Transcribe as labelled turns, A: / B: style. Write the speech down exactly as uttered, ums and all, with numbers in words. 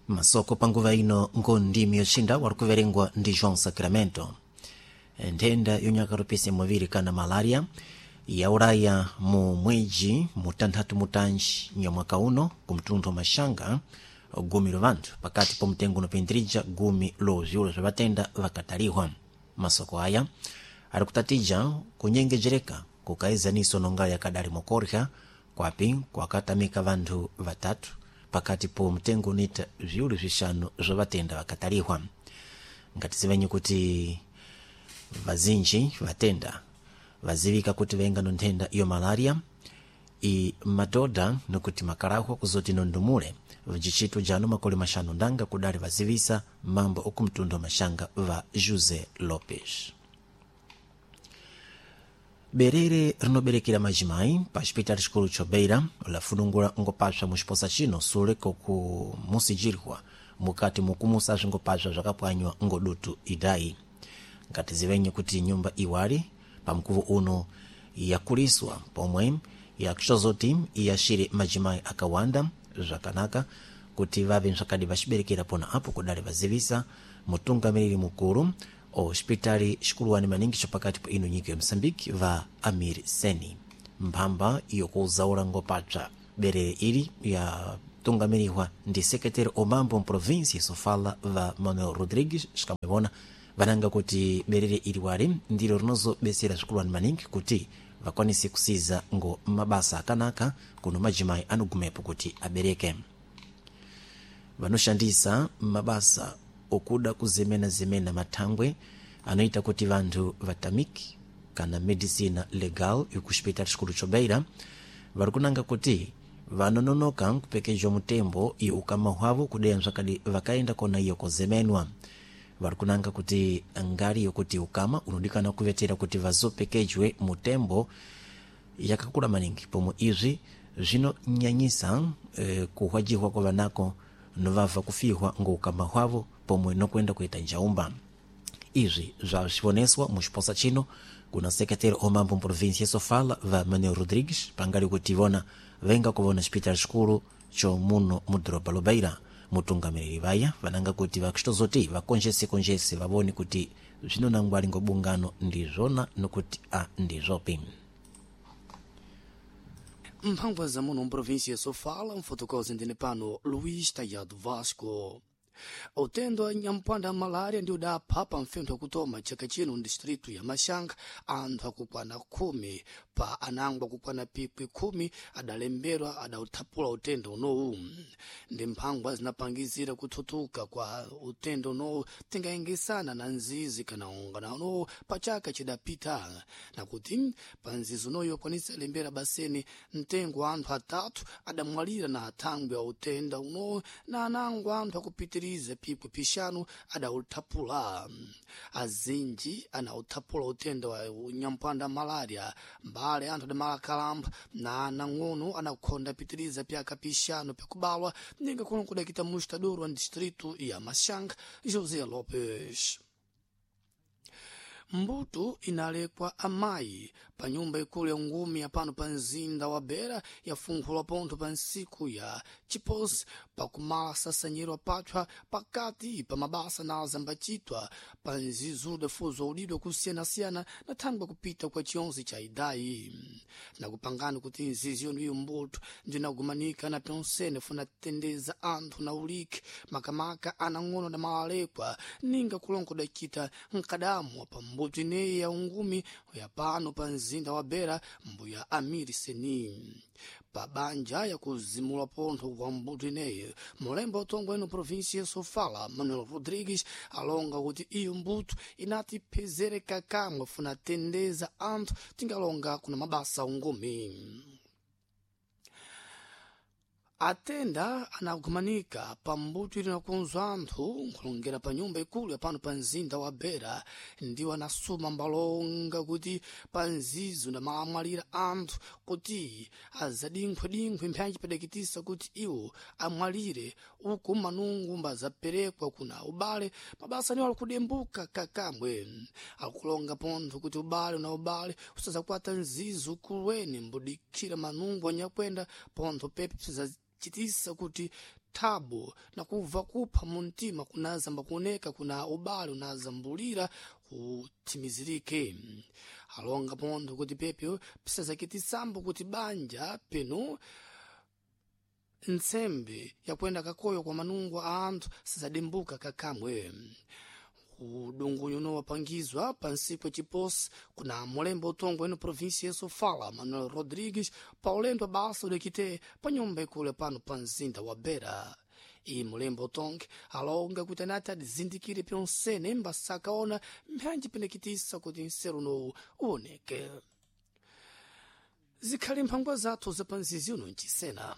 A: Masoko panguva ino ngondimi yochinda wari kuverengwa ndi João Sacramento. Nthenda yonyakarupisa muviri kana malaria yaulaya mu mwedzi mutanthatu mutanji nyamwaka uno kumtundu wa Maxanga gumi lo vanthu pakati pa mtengo unopindirija gumi lo viulo vya vatenda vakataliwa. Masoko aya ari kutatija kunyengejereka kukaezaniso nonga yakadali mokorya kwapi kwakatamika vanthu vatatu pakati po mtengo unita viulu vixanu zwa vatenda vakataliwa. Ngatizivenye kuti vazinji vatenda vazivika kuti venga no nthenda iyo malaria i madhodha nokuti makarahwa kuzoti nondumule vjicito jano makole maxanu ndanga kudali vazivisa mambo okumtundu wa Maxanga va José Lopes. Berere rinoberekera majimai pa xipitali xikulu chobeira lafunungula ngopasva muxiposa chino sule kokumusijirwa mukati mukumusa zvingopasva zvakapwanywa ngodutu idai. Ngatizivenye kuti nyumba iwali pamkuvo uno yakuliswa pomwe yakuxozoti iyashire majimai akawanda zvakanaka kuti vave msakadi vaxiberekera pona apo kudali vazivisa mutungamiriri mukuru o hospitali xikuluwani maningi xapakati pa ino nyika ya Moçambique va Amir Seni. Mphamba yokuzaula ngopapsa berere ili yatungamirihwa ndi sekretary omambo mprovinsi Sofala va Manuel Rodrigues xikamwevona vananga kuti berere ili wali ndilo rinozobesera xikuluwani maningi kuti vakwanise kusiza ngo mabasa akanaka kuno majimai anogumepo kuti abereke. Vanoshandisa mabasa okuda kuzemena-zemena mathangwe anoita kuti vanthu vatamike kana medicina legal ikuxipitali xikulu chobeira vari kunanga kuti vanononoka kupekejwa mutembo iyo ukama hwavo kudeya msakadi vakaenda kona iyo kozemenwa. Vari kunanga kuti ngari yokuti ukama unodikana kuvetera kuti vazopekejwe mutembo yakakula maningi pomwe izvi zvinonyanyisa eh, kuhwajihwa kwa vanako novabva kufihwa ngoukama hwavo pomwe nokuenda kuita njaumba. Izvi zvazvivoneswa muxiposa chino kuna sekretary omambo mprovinsia Sofala va Manuel Rodrigues pangali kuti vona venga kuvona xipitali xikulu cho muno mu doroba Lobeira. Mutungamiriri vaya vananga kuti vakuxitozoti vakonjese-konjese vavone kuti zvinonangwali ngobungano ndizvona nokuti a ndizvopi.
B: Mphamvu za muno mprovinsia Sofala mfotokozi ndine pano Luís Tayado Vasco. Utendo wa nyampanda wa malaria ndi udapha pa mfentho wakutoma chaka chino ndistritu ya Maxanga anthu akukwana khumi pa anango akukwana pikwi khumi adalemberwa adauthapula utendo unowu. Ndi mphangwa zinapangizira kuthutuka kwa utendo unowu tingayengesana na nzizi kana ungana unowu pa chaka chidapita nakuti pa nzizi unoyu akwanisa lembera baseni mtengo wa anthu atatu adamwalira na athangwe a utenda unowu na anango anthu akupitiriza pikwi pixanu adauthapula. Azinji anauthapula utenda wa nyampanda malaria mbale anthu adamalakalamba na anang'ono anakhonda pitiriza pyaka pixanu pyakubalwa ninga kuno kudakita mustador wa distrito ya Maxanga José Lopes. Mbuto inalekwa amayi pa nyumba ikulu ya ngumi ya pano pa mzinda wa Beira yafunkhulwa pontho pa ntsiku ya chiposi pakumala sasanyiro pathwa pakati pa mabasa na azambacitwa pa nzizuda fuzo udidwa kusiyanasiyana na thangwe kupita kwa chionse cha idayi nakupangani kuti nzizi yonu iyo mbuto ndinagumanika na pyonsene funa tendeza anthu na uliki makamaka anang'ono na malalekwa ninga kulongo dacita mkadamu pa mbuto ineyi ya ungumi ya pano pa mzinda wa Beira mbuya Amiri Seni pa banja yakuzimula pontho kwa mbuto ineyi mulembo utongwe ino provinsia ya Sofala Manuel Rodrigues alonga kuti iyo mbuto inatipezereka kamwe funa tendeza anthu tingalonga kuna mabasa ungumi. Atenda anagumanika pa mbuto ili nakunzwa anthu nkhulongera pa nyumba ikulu ya pano pa mzinda wa Beira ndiwo anasuma mbalonga kuti pa nzizo ndamaamwalira anthu kuti azadinkhwedinkhwe mphanji padakitisa kuti iwo amwalire uku manungu mbazaperekwa kuna ubale mabasa niwo alikudembuka kakamwe akulonga pontho kuti ubale na ubale usazakwata nzizo kulweni mbudikira manungu anyakwenda pontho pepe psiza Chitisa kuti thabu na kubva kupha mu mtima kunazamba kuoneka kuna ubale unazambulira kuthimizirike. Alonga pontho kuti pepyo pisazakitisambo kuti banja penu ntsembe yakuenda kakoyo kwa manungo a anthu sizadimbuka kakamwe. Udungunyu uno wapangizwa pa nsiku yaciposi kuna mulembo utongo eno província ya Sofala, Manuel Rodrigues, pa ulendo basa udakite pa nyumba ikulu pano pa mzinda wa Beira. Iyi mulembo utonge alonga kuti anati adizindikire pyonsene mbasakaona mphanji penekitisa kuti nseru unowu uwoneke. Zikhali mphangwa zathu za panzizi uno ncisena.